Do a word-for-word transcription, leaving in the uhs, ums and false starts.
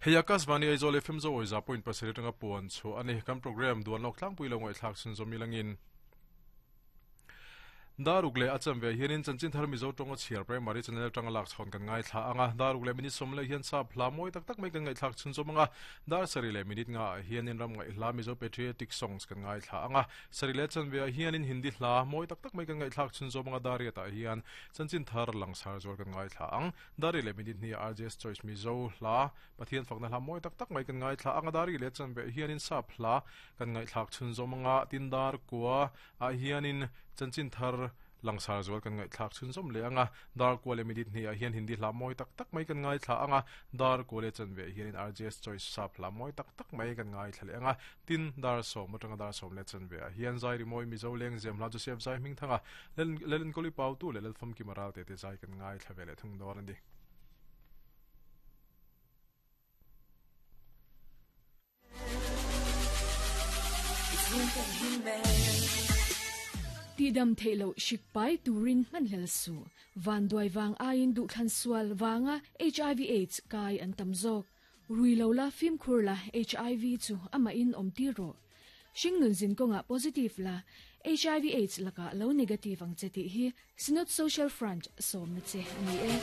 Hei Akashvani Aizawl F M zo oi za point pasarih atanga puan chu ani kan program duan lok tlangpui lo ngai thlak chhun zawm ilangin daruk le acham ve hianin chanchin thar Mizo tonga chhiar primary channel tanga lak chhon kan ngai thla anga daruk le minute som le hian sap hla moi tak tak mai kan ngai thlak chhun zawm anga dar sari le minute nga hianin ram ngai hla Mizo patriotic songs kan ngai thla anga sari le chan ve hianin Hindi hla moi tak tak mai kan ngai thlak chhun zawm anga dari ta hian chanchin thar langsar zor kan ngai thla ang dari le minute ni R J S Choice Mizo hla Pathian fakna hla moi tak tak mai kan ngai thla anga dari le chan ve hianin sap hla kan ngai thlak chhun zawm anga tindar kwa a hianin chanchin thar langsar zual kan ngai thlak chhun zawm le anga dar kwale minute ni a hian Hindi hla moi tak tak mai kan ngai thla anga dar kwale chan ve hianin R J S Choice sap hla moi tak tak mai kan ngai thla le anga tin dar som atanga dar som le chan ve a hian zai ri moi Mizo leng zem hla Joseph zai hming thanga lelen koli pau tu le lel fam ki maral te te zai kan ngai thla ve le thung dor ani. Ti dam theilo shikpai turin man hel su van duai wang ain du thlan sual wanga H I V AIDS kai an tamzok ruilo la phim khur la H I V chu ama in om ti ro shingnun zin konga positive la H I V AIDS laka lo negative ang cheti hi Synod Social Front som na che ani e.